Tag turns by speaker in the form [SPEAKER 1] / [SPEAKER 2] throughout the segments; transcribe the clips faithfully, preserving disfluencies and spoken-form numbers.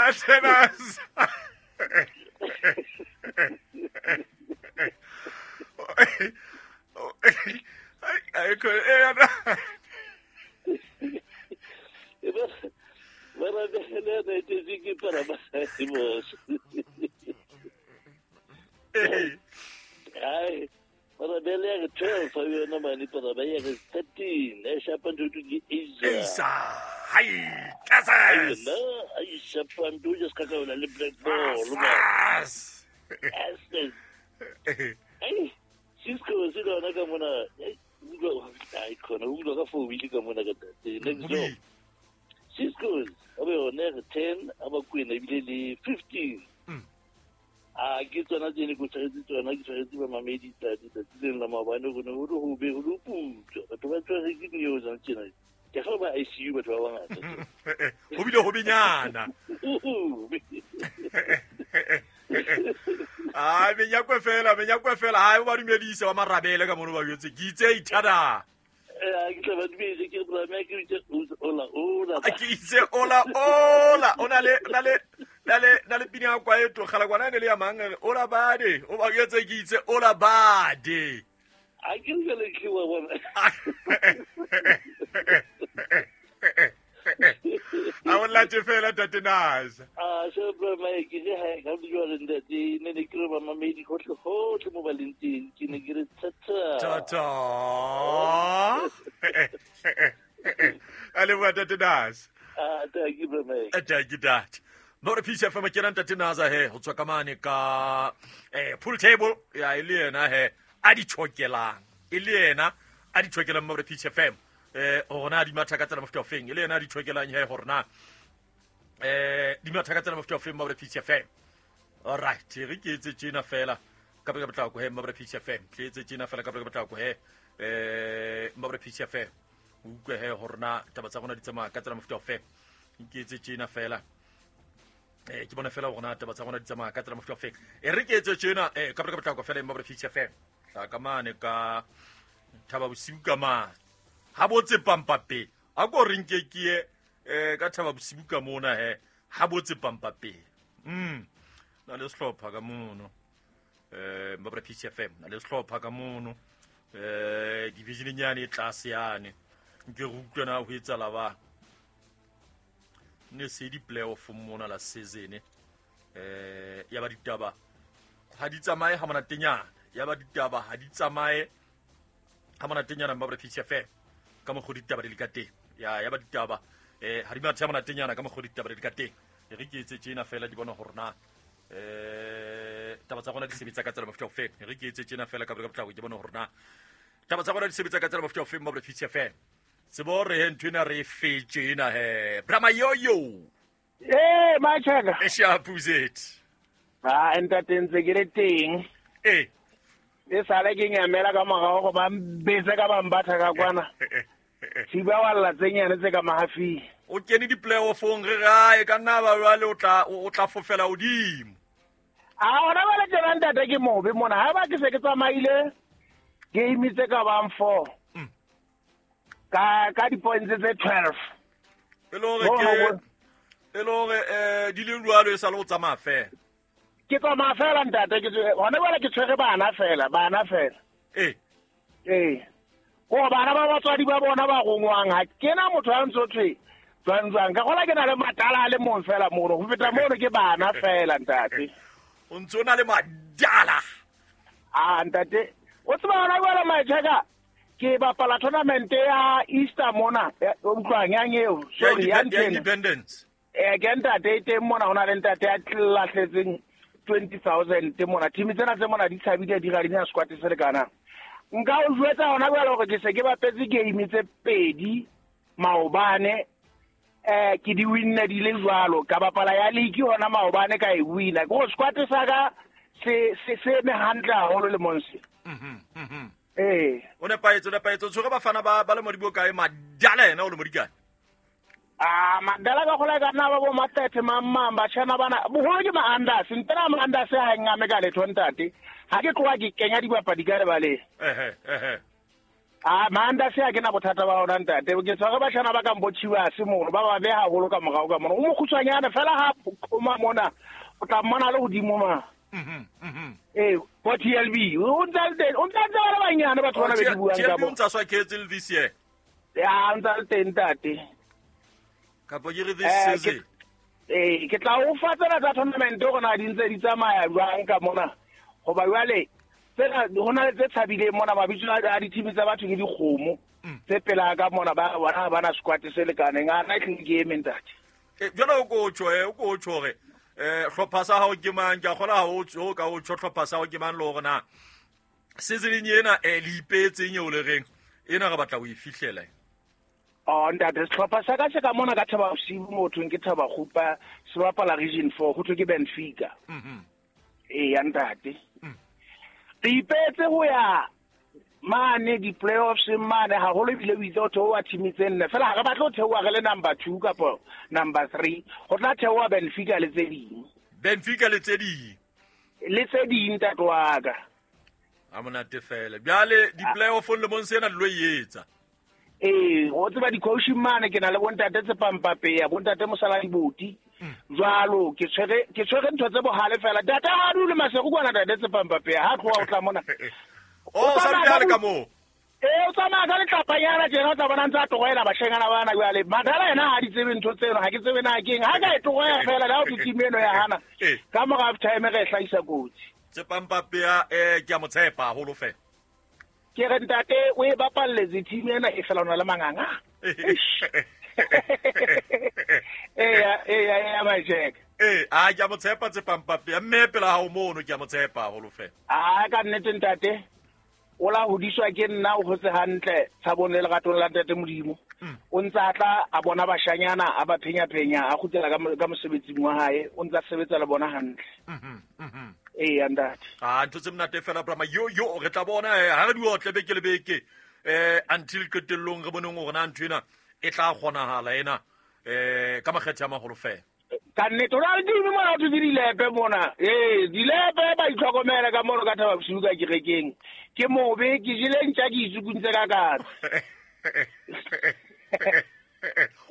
[SPEAKER 1] Tatenas. Ai ko e ana.
[SPEAKER 2] Mara bele na teziki para basimos. Ai, mara bele twelve fa yona mani para ba ya thirteen e shapandu ke Isa.
[SPEAKER 1] Isa. Hai, kasas.
[SPEAKER 2] Na, ai shapandu just ka ka le black ball.
[SPEAKER 1] Yes.
[SPEAKER 2] Ai, Cisco se lona ka mona. Ai khona utlwa ka four wheel ka mona ka next door. Cisco abe yone ten abakwena ebile le fifteen. A ke tsona tse ne ko tshwaretse tsona ke tshwaretse ba mamedi tsatsi tsatsi leng la maobane go ne go le hobe go le putswa batho ba tshware ke news tjena ke ga ba I C U batho ba bangata
[SPEAKER 1] ho bile ho benyana a menyakwe fela menyakwe fela ha ba dumedise ba marabele ka mono ba jwetse ke itse ithada
[SPEAKER 2] eh ke tla ba dumedise ke bra me ke itse ola ola
[SPEAKER 1] ke itse ola ola ona le na le na le na le pina kwa eto kgala kwana ne le ya mang ola bade o ba jwetse ke itse ola bade
[SPEAKER 2] a ke re le ke wa bona
[SPEAKER 1] a o late fela Tatenas
[SPEAKER 2] a se bra me ke re ha ka jwa le ntate ne ne ke re ba mamedi hohle hohle mo ba leng teng ke ne ke re tata
[SPEAKER 1] tata a le wa Tatenas
[SPEAKER 2] a ta ke bra me
[SPEAKER 1] a ta ke dat Mo re P C F M ke nang Tatenas he ho tswa ka mane ka eh pool table ya ile yena he a di chokelang e le yena a di chokelang mo re P C F M eh hore na di matha ka tsela mofuta ofeng e le yena a di chokelang he hore na eh di matha ka tsela mofuta ofeng mo re P C F M. All right, re ke etse tjena fela ka ka potlako he mo re P C F M ke etse tjena fela ka ka potlako he eh mo re P C F M o utlwe he hore na taba tsa rona di tsamaya ka tsela mofuta ofeng ke etse tjena fela eh ke bona fela hore na taba tsa rona di tsamaya ka tsela mofuta ofeng e re ke etse tjena eh ka ka potlako fela mo re P C F M tla ka mane ka thaba bosiu ka mane ha botse pampape a ko re nke ke ye eh ka thaba bosiu ka mona he ha botse pampape mm na le sehlopha ka mono eh mabra P C F M na le sehlopha ka mono eh division nyane e tlase yane nke re utlwe na ho etsala ba ne se di playoff mona la season eh ya ba ditaba ha di tsamaye ha monatenyana ya ba ditaba ha di tsamaye ha monatenyana mabra P C F M ka mokgo ditaba di le ka teng ya ya ba ditaba eh ha di mathe ha monatenyana ka mokgo ditaba di le ka teng e re ke etse tjena fela di bona hore na eh taba tsa rona di sebetsa ka tsela mofuta ofeng e re ke etse tjena fela ka ka potlako ke bona hore na taba tsa rona di sebetsa ka tsela mofuta ofeng mo P C F M tsebo re he ntho ena re fetse ena he Brahma yoyo
[SPEAKER 3] eh machaka
[SPEAKER 1] e shapuzet
[SPEAKER 3] ah ntate ntse ke le teng
[SPEAKER 1] eh
[SPEAKER 3] e sale ke nyamela ka morao go ba mbetse ka ba mbatha ka kwana thiba walla tsenyane tse ka mahafing
[SPEAKER 1] o kene di playoffong re gae ka nna ba jwale o tla o tla fofela hodimo
[SPEAKER 3] a ona ba le tjena ntate ke mobe mona ha ba ke se ke tsamaile game tse ka bang four ka ka di points tse twelve
[SPEAKER 1] e le hore ke e le hore eh di le jwalo e sa le o tsamaya fela
[SPEAKER 3] ke tsamaya fela ntate ke hona jwale ke tshwere bana fela bana fela
[SPEAKER 1] eh
[SPEAKER 3] eh ko bana ba batswadi ba bona ba rongwang ha ke na motho a ntso thwe jwang jwang ka gola ke na le matala a le mong fela mono ho feta mono ke bana fela ntate
[SPEAKER 1] o ntso na le madala
[SPEAKER 3] ah ntate o tseba hona jwale machaka ke bapala tournament ya Easter mona o utlwang yang eo sorry ya
[SPEAKER 1] Independence
[SPEAKER 3] eh ke ntate e teng mona hona le ntate ya tlahletseng twenty thousand mona team tsena tse mona di tshabile di ga di na squad se lekana nka o jwetsa hona jwale hore ke se ke bapetse game tse pedi maobane eh ke di winne di le jwalo ka bapala ya league hona maobane ka e wina ke go squad sa ka se se se me hantle haholo le monse
[SPEAKER 1] mhm mhm
[SPEAKER 3] eh
[SPEAKER 1] o ne paetso ne paetso tshwere bafana ba ba le modibo kae madala yena o le modikane
[SPEAKER 3] ah madala ka gola ka nna ba bo matete mamma ba tshana bana boholo ke ma-Anders ntena ma-Anders ha ngame ka letho ntate ha ke tloha ke kenya dibapadi ka lebaleng
[SPEAKER 1] ehe ehe
[SPEAKER 3] A manda se a ke na bothata ba ona ntate. Ke tshware bashana ba ka mbotshiwa se mono ba ba beha haholo ka morao ka mono. O mokgutshwanyana fela ha koma mona o tla mmona le hodimo ma.
[SPEAKER 1] Mhm mhm.
[SPEAKER 3] Eh, ko T L B o ntse le o ntse ba le banyane batho bana be di buang ka
[SPEAKER 1] T L B
[SPEAKER 3] bo.
[SPEAKER 1] O ntsa swa ketse le this year.
[SPEAKER 3] Ya ntse le teng ntate.
[SPEAKER 1] Kapo ke re this
[SPEAKER 3] Eh,
[SPEAKER 1] season.
[SPEAKER 3] Eh, ke tla o fa tsena tsa tournament go na di ntse di tsamaya jwang ka mona. Hoba jwale tsena ho na le tse tshabileng mona mabitso a di-team tsa batho ke dikgomo tse pela ka mona ba bona ba na squad se lekaneng a na ke game ntate.
[SPEAKER 1] Eh, jwale o ko tjho eh o ko tjho hore eh hlopha sa hao ke mang ke a kgola ha o tjho ka o tjho hlopha sa hao ke mang le hore na season ena eh le ipetseng eo le reng ena re batla ho e fihlela.
[SPEAKER 3] Oh ntate sehlopha sa ka se ka mona ka Thaba Bosiu mo thweng ke Thaba Kgupa se bapala region four ho thwe ke Benfica.
[SPEAKER 1] Mhm.
[SPEAKER 3] Eh ya ntate. Re ipetse ho ya mane di-playoffs mane haholo ebile o itse ho theoha team tse nne fela ha re batle ho theoha re le number two kapa number three ho tla theoha Benfica le tse ding.
[SPEAKER 1] Benfica le tse ding.
[SPEAKER 3] Le tse ding ntate wa ka.
[SPEAKER 1] A monate fela. Bjale di-playoff le mong sena le lo e etsa.
[SPEAKER 3] Eh, o tseba di-coaching mane ke na le bontate Tsepampapeya, bontate Mosala Diboti. Jwalo ke tshwere ke tshwere ntho tse bohale fela. Ntate ha dule Maseru kwana ntate Tsepampapeya ha tloha o tla mona.
[SPEAKER 1] O sa dule ka moo.
[SPEAKER 3] Eh, o tsamaya ka letlapanyana tjena o tla bona ntse a tlohela bashanyana bana jwale. Madala yena ha di tsebe ntho tseno, ha ke tsebe na keng. Ha ka e tlohela fela le ha o team eno ya hana. Ka mora half time re hlahisa kotsi.
[SPEAKER 1] Tsepampapeya eh ke a mo tshepa haholo fela.
[SPEAKER 3] Ke re ntate o e bapalletse team ena e fela ona le manganga. Eh eh eh Majek.
[SPEAKER 1] Eh a ke a mo tshepa Tsepampapeya mme pela ha o mono ke a mo tshepa haholo fela.
[SPEAKER 3] A ka nnete ntate. O la hodiswa ke nna o hotse hantle tshabong le leratong la ntate Modimo. O ntse a tla a bona bashanyana a ba phenya phenya a kgutlela ka ka mosebetsing wa hae o ntse a sebetsa le bona hantle.
[SPEAKER 1] Mhm mhm.
[SPEAKER 3] Eh ntate.
[SPEAKER 1] Ah ntho tse monate fela Brahma yo yo re tla bona ha re di otle beke le beke eh until qetellong re boneng hore na ntho ena e tla kgonahala ena eh ka makgethe a maholo fela.
[SPEAKER 3] Ka nnete o na le dimo mona ho dilepe mona. Eh dilepe ba itlhokomela ka mono ka Thaba Bosiu ka kerekeng. Ke mobe ke jele ntja ke itsukuntse ka katse.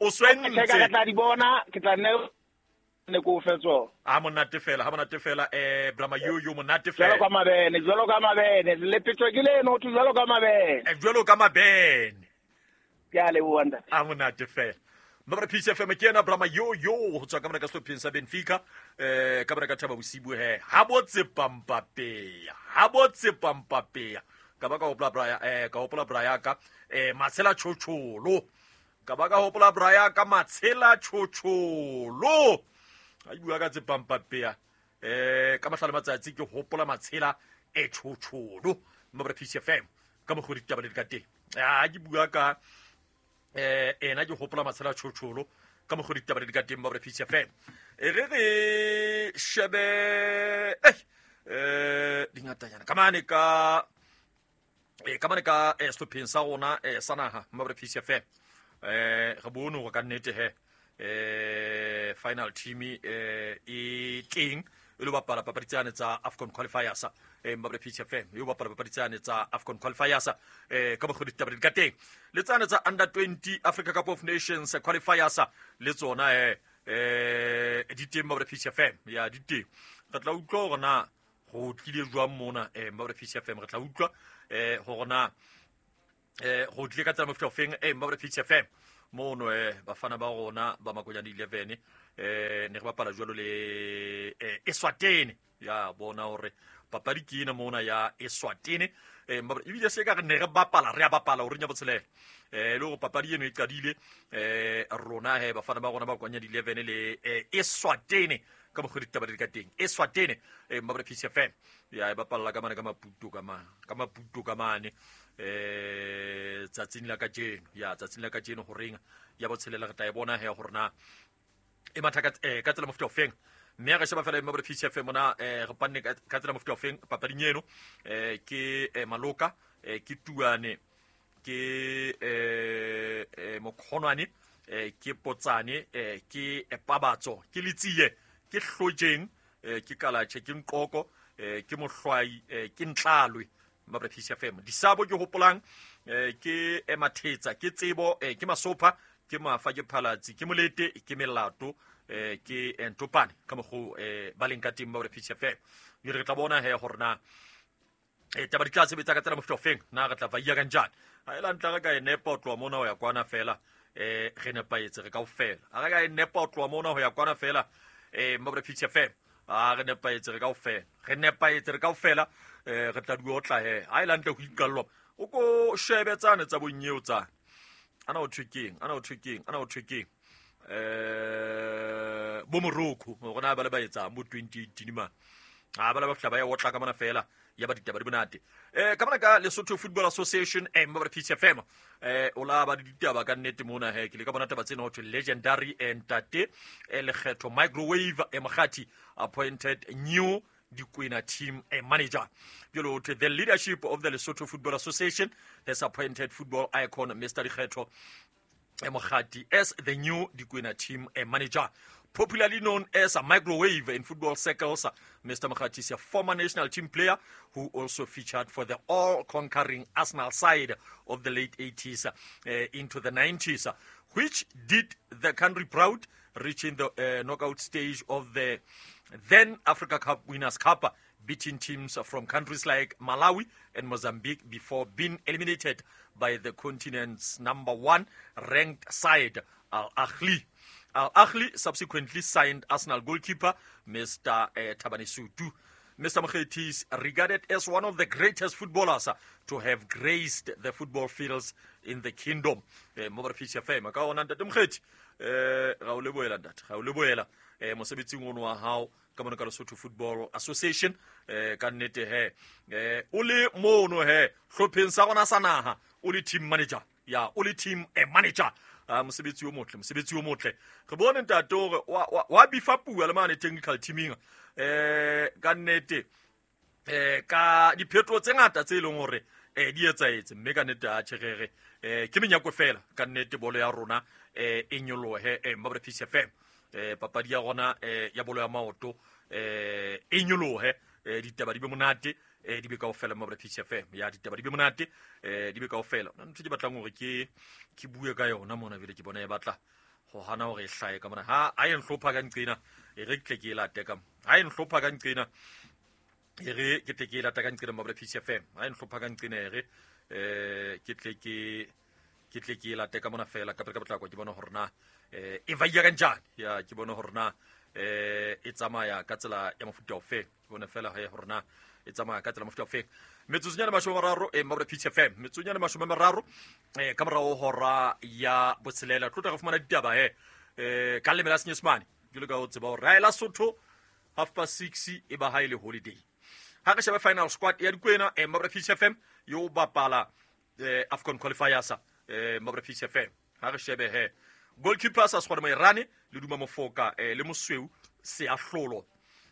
[SPEAKER 1] O swentse.
[SPEAKER 3] Ke tla di bona ke tla nne ne ko fetso.
[SPEAKER 1] A monate fela, ha monate fela eh Brahma yo yo monate fela.
[SPEAKER 3] Jwalo ka mabene, jwalo ka mabene, le petso ke leno ho jwalo ka mabene.
[SPEAKER 1] Eh jwalo ka mabene.
[SPEAKER 3] Ke a leboha ntate.
[SPEAKER 1] A monate fela. Mabra Peace F M ke ena Brahma yo yo ho tswa ka mona ka sehlopheng sa Benfica eh ka mona ka Thaba Bosiu he ha bo Tsepampapeya ha bo Tsepampapeya ka ba ka hopola Braya eh ka hopola Braya ka eh Matshela Tjhotjholo ka ba ka hopola Braya ka Matshela Tjhotjholo a bua ka Tsepampapeya eh ka mahlale matsatsi ke hopola Matshela e Tjhotjholo Mabra Peace F M ka mokgwa ditaba le ka teng a ke bua ka eh ena ke hopola Matshela Tjhotjholo ka mokgwa ditaba di ka teng Mabra Peace F M e re re shebe eh eh dingatanyana ka mane ka eh ka mane ka eh sehlopheng sa rona eh sa naha Mabra Peace F M eh re bone hore ka nnete he eh final team eh e teng e lo bapala papadi tsane tsa AFCON qualifiers eh Mabra Peace F M e lo bapala papadi tsane tsa AFCON qualifiers eh ka mokgwa ditaba di ka teng le tsane tsa under twenty Africa Cup of Nations qualifiers le tsona eh eh di teng Mabra Peace F M ya di teng re tla utlwa hore na go tlile jwang mona eh Mabra Peace F M re tla utlwa eh hore na eh go tlile ka tsela mofuta ofeng eh Mabra Peace F M mono eh bafana ba rona ba Makonyane eleven eh ne re bapala jwalo le eh Eswatini ya bona hore papadi ke ena mona ya Eswatini eh ebile se ka re ne re bapala re a bapala hore nya botshelela eh le hore papadi eno e qadile eh rona he bafana ba rona ba Makonyane eleven le eh Eswatini ka mokgwa ditaba di ka teng Eswatini eh Mabra Peace F M ya e bapalla ka mane ka Maputo ka mane ka Maputo ka mane eh tsatsing la kajeno ya tsatsing la kajeno horeng ya botshelela re tla e bona he hore na e matha ka eh ka tsela mofuta ofeng mme re sheba fela Mabra Peace F M mona eh re panne ka tsela mofuta ofeng papading eno eh ke Maloka eh ke Tuane ke eh Mokgonwane eh ke Potsane eh ke Pabatso ke Letsie ke Hlojeng eh ke Kalatjhe ke Nqoko eh ke Mohlwai eh ke Ntlalwe Mabra P C F M disabo ke hopolang eh, ke emathetsa ke tsebo eh, ke masopha ke mafa ke phalatsi ke molete ke melato eh, ke ntopane ka mokgo eh, ba leng ka teng Mabra P C F M. Mme re tla bona he hore na e taba di tla sebetsa ka tsela mofuta ofeng, na re tla vaia kanjani. Ha e la ntla re ka e nepa ho tloha mona ho ya kwana fela, eh re nepahetse re kaofela. Ha re ka e nepa ho tloha mona ho ya kwana fela, eh Mabra P C F M, a re nepahetse re kaofela, re nepahetse re kaofela, eh re tla di otla he. Ha e la ntle ho iqallwa o ko shebe tsane tsa bonyeo tsane ana o thwe keng, ana o thwe keng, ana o thwe keng, eh bo Morocco hore na ba le ba etsang bo twenty eighteen ma a ba le ba fihla ba ya otla ka mona fela ya ba ditaba di monate. eh ka mona ka Lesotho Football Association, eh Mabra P C F M, eh o la ba di ditaba ka nnete mona he. Ke le ka bona taba tsena ho thwe legendary ntate eh Lekgetho Microwave e Mokgati appointed new Dikwena team eh, manager. Jalo ho thwe the leadership of the Lesotho Football Association has appointed football icon Mister Lekgetho Mokgati as the new Dikwena team eh, manager. Popularly known as a microwave in football circles, Mister Mokgati is a former national team player who also featured for the all-conquering Arsenal side of the late eighties uh, into the nineties, which did the country proud, reaching the uh, knockout stage of the then Africa Cup Winners' Cup, beating teams from countries like Malawi and Mozambique before being eliminated by the continent's number one ranked side, Al Ahly. Al Ahly subsequently signed Arsenal goalkeeper Mister Uh, Thabani Sutu. Mister Mokgethi is regarded as one of the greatest footballers to have graced the football fields in the kingdom. Eh, Mobra P C F M, ka ona ntate Mokgethi, eh, ra o lebohela ntate, ra o lebohela, eh, mosebetsing ono wa hao ka mona ka Lesotho Football Association, eh, ka nnete he, eh, o le mono he, hlopheng sa rona sa naha, o le team manager, ya, o le team eh, manager. Ah, mosebetsi o motle, mosebetsi o motle. Re bone ntate hore wa, wa, wa bifa pua le mane technical teaming, eh, ka nnete, eh, ka diphetoho tse ngata tse leng hore, eh, di etsahetse, mme ka nnete a tjherere, eh, ke menyako fela ka nnete bolo ya rona, eh, e nyolohe, eh, Mabra P C F M, eh, papadi ya rona, eh, ya bolo ya maoto, eh, e nyolohe, eh, ditaba di be monate, eh, di be kaofela Mabra P C F M, ya ditaba di be monate, eh, di be kaofela. Nna ntho ke batlang hore ke, ke bue ka yona mona bile ke bona e batla ho hana hore e hlahe ka mona. Ha, ha e nhlopha ka nqena, e re ke tle ke e late ka mo. Ha e nhlopha ka nqena, e re ke tle ke e late ka nqena Mabra P C F M. Ha e nhlopha ka nqena, e re, eh, ke tle ke, ke tle ke e late ka mona fela, ka pele ka potlako ke bone hore na, eh, e vaia ka njani. Ya, ke bone hore na, eh, e tsamaya ka tsela ya mofuta ofe. Ke bone fela he hore na e tsamaya ka tsela mofuta ofe. Metsotsonyana mashome a mararo, eh, Mabra P C F M, metsotsonyana mashome a mararo, eh, ka morao hora ya botshelela. Tlo tla re fumana ditaba he, eh, ka leleme la Senyesemane. Jwalo ka o tseba hore ha e la Sotho half past six e ba ha e le holiday. Ha re shebe final squad ya Dikwena, eh, Mabra P C F M yo bapala, eh, AFCON qualifiers, eh, Mabra P C F M. Ha re shebe he goalkeeper sa Sekgwane Moerane le Duma Mofoka, eh, le Mosweu Seahlolo.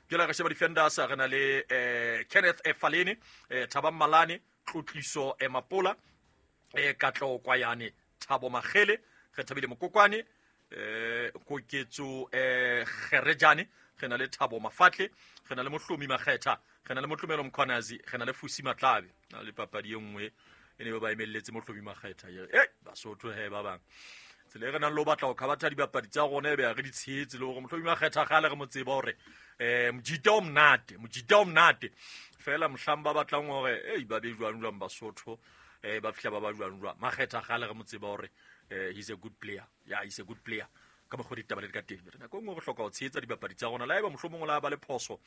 [SPEAKER 1] Jwale re sheba defenders, re na le, eh, Kenneth Falene, eh, Thabang Malane, Tlotliso Mapola, eh, Katleho Kwayane, Thabo Makgele, re thabile Mokokwane, eh, Koketso, eh, Kgerejane, re na le Thabo Mafatle, re na le Mohlomi Makgetha, re na le Motlomelo Mkhwanazi, re na le Fusi Matlabe. Na le papadi e nngwe e ne ba ba emelletse Mohlomi Makgetha. Eh, Basotho he ba bang. Tsela e re nang le ho batla ho khabatha dibapadi tsa rona e be re di tshehetse le hore Mohlomi Makgetha kgale re mo tseba hore, eh, mojita o monate, mojita o monate. Fela mohlang ba batlang hore, ei, ba be jwang jwang Basotho, eh, ba fihla ba ba jwang jwang. Makgetha kgale re mo tseba hore, eh, he's a good player. Yeah, he's a good player. Ka mokgwa ditaba le di ka teng. Re nako e nngwe re hloka ho tshehetsa dibapadi tsa rona. Le haeba mohlomong o la ba le phoso,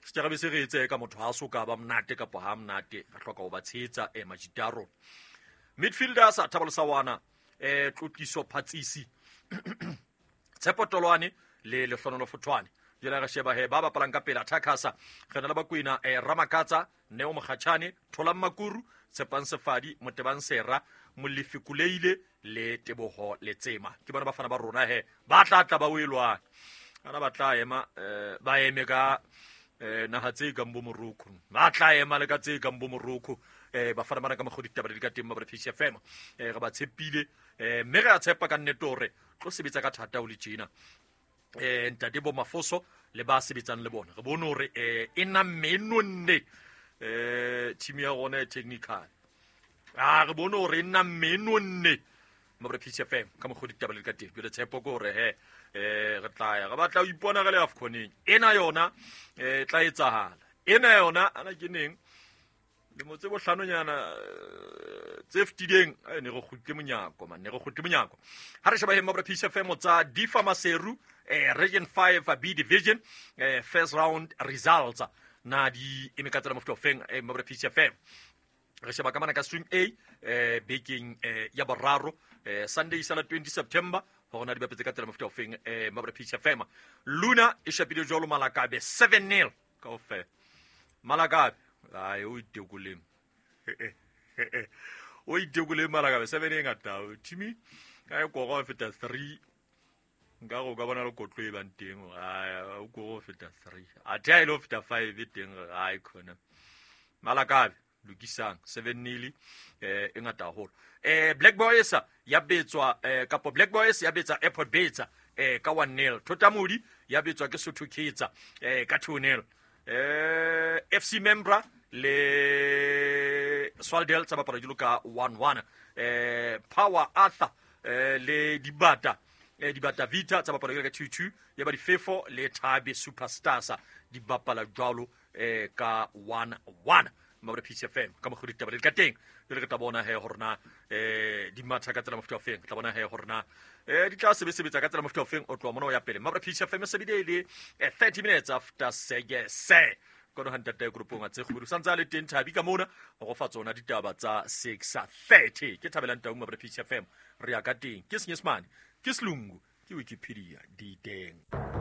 [SPEAKER 1] setjhaba se re etse ka motho ha so ka ba monate kapa ha monate, re hloka ho ba tshehetsa, eh, majita a rona. Midfielders, Thabo Lesawana, eh, Tlotliso Phatsisi, Tshepo Tolwane le Lehlohonolofo Fothwane. Jwale re sheba he ba bapalang ka pele attackers, re na le Bakwena, eh, Ramakatsa, Neo Mokgatjhane, Tholang Makuru, Tshepang Sefadi, Motebang Sera, Molefi Kuleile le Teboho Letsema. Ke bona bafana ba rona he ba tla tla ba o elwana. Ana ba tla ema, eh, ba eme ka, eh, naha tse kang bo Morocco. Ba tla ema le ka tse kang bo Morocco. Eh, bafana bana ka mokgwa ditaba di ka teng ba P C F M. Eh, re ba tshepile, eh, mme re a tshepa ka nnete hore tlo sebetsa ka thata ho le tjena. Eh, ntate bo Mafoso le ba sebetsang le bona. Re bone hore, eh, e namme e nonne. eh team ya rona e technical. A re bone hore nna menonne mabra P C F M ka mokgwa ditaba le ka teng. Jwale tshepo ke hore he eh re tla ya re batla ho ipona re le AFCON-eng ena yona eh tla etsahala ena yona ana ke neng lemo tse bohlanonyana tse fetileng ne re kgutle monyako man ne re kgutle monyako. Ha re sheba he mabra P C F M tsa Difa Maseru eh Region five B Division eh first round results na di eme ka tsela mofuta ofeng eh mabra P C F M. Re sheba ka mana ka swing A eh bekeng eh ya boraro eh Sunday sala twenty September hore na di bapetse ka tsela mofuta ofeng eh mabra P C F M. Luna e shapile jwalo Malakabe seven nil kaofela. Malakabe ai o itekoleng o itekoleng Malakabe seven e ngata team ka e koro feta three nka go ka bona le kotlo e bang teng ai o koro feta three a tha ile feta five e teng ai khona Malakabe lokisang seven nil eh e ngata haholo. Eh Black Boys ya betswa eh kapo Black Boys ya betsa Airport Betsa eh ka one nil. Thotamodi ya betswa ke Sotho Kitsa eh ka two nil. Eh F C Membra le Swaldel tsa bapala jolo ka one one. Eh Power Arthur eh le Dibata eh Dibata Vita tsa bapala jolo ka two two. Ya ba Difefo le Thabe Superstars di bapala jwalo eh ka one one. Mabra P C F M ka mokgwa ditaba le ka teng. Jwale re tla bona he hore na eh di matha ka tsela mofuta ofeng, tla bona he hore na eh di tla sebetsa ka tsela mofuta ofeng o tloha mona o ya pele. Mabra P C F M se bile le thirty minutes after six. Kono ha ntate groupong a tse kgubedu santse a le teng Thabi ka mona go fa tsona ditaba tsa six thirty. Ke thabelang tau Mabra P C F M re ya ka teng ke Senyesemane ke Selungu ke Wikipedia di teng.